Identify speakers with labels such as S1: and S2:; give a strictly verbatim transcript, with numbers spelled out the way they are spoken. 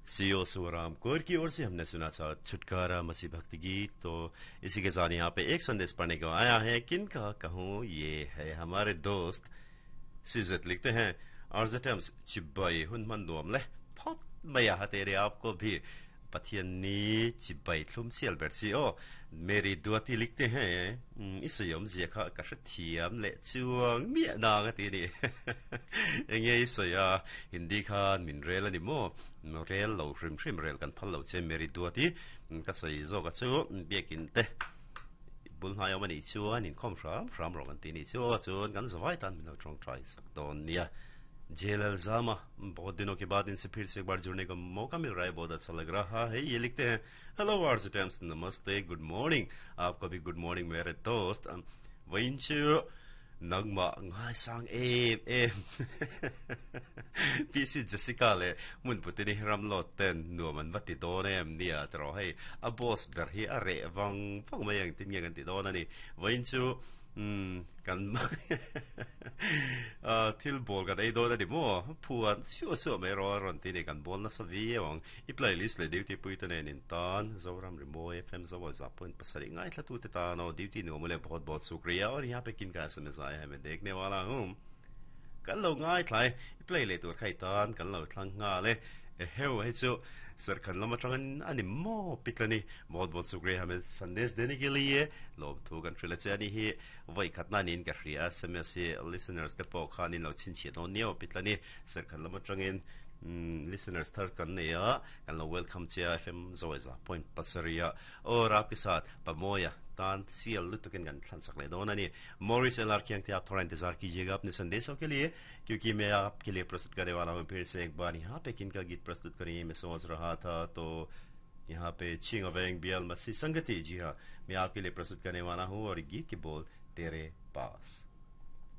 S1: CO Suram Kaur की ओर से हमने सुना था छुटकारा मसीह भक्ति गीत। तो इसी के साथ यहाँ पे एक संदेश पढ़ने को आया है, किनका कहूँ, ये है हमारे दोस्त सिजत, लिखते हैं अर्जटम्स चिब्बाई हुन मन nuam le phot maya तेरे आपको भी Pathian chibai thlum sial ber si o Mary Duati लिखते हैं isayom zia kha ka thiam le chuang mi na ga ti ni enge isaya Hindi khan min rel ani mo rel lo hrim hrim rel kan phal lo che Mary Duati ka sai zo ka chu biakin te bul hnai awm ani chuan in khom hram hram rawng an ti ni chu chuan kan zawai tan min lo tawng trai sak dawn nia। जेलल जामा, बहुत दिनों के बाद इनसे फिर से एक बार जुड़ने का मौका मिल रहा है, बहुत अच्छा लग रहा है। ये लिखते हैं hello RJ times, नमस्ते, गुड मॉर्निंग। आपको भी गुड मॉर्निंग मेरे दोस्त। वहीं nangma ngai sang em em P C Jessica le mun putini ram lo ten nuam an vati dawn em nia tro hei a boss ber hi a re wang wang mai ang tin nge kan ti dawn ani vain chu um kan thil bol kan ei dawn ani mo phuan siu siu mai ro ron ti ni kan bol na sa vi awang i playlist le duty pui te nen in tan Zoram Rimawi F M zo za point pasarih ngai thla tu te ta no duty no mole बहुत बहुत शुक्रिया। और यहाँ पे किन का S M S आया है, मैं देखने वाला हूँ। Kan lo ngai thlai i play le tur khai tan kan lo thlang nga le heu hei chu sir khan lama tangan ani mo pitlani बहुत बहुत शुक्रिया हमें संदेश देने के लिए। Lom thu kan thrila che ani hi voi khatna nin ka hria S M S hi listeners te pawh khanin lo chin chhi dawn nio pitlani sir khan lama tangin listeners thar kan nei a kan lo welcome che F M zoiza point pasaria और आपके साथ पमोया तान सियल लुतुकन gun thlan sak le don ani। Morris L R के आप थोड़ा इंतजार कीजिएगा अपने संदेशों के लिए, क्योंकि मैं आपके लिए प्रस्तुत करने वाला हूँ फिर से एक बार। यहाँ पे किनका गीत प्रस्तुत करें, मैं सोच रहा था, तो यहाँ पे छिंग अवेंग बियल मसी संगति, जी हाँ, मैं आपके लिए प्रस्तुत करने वाला हूँ और गीत के बोल तेरे पास।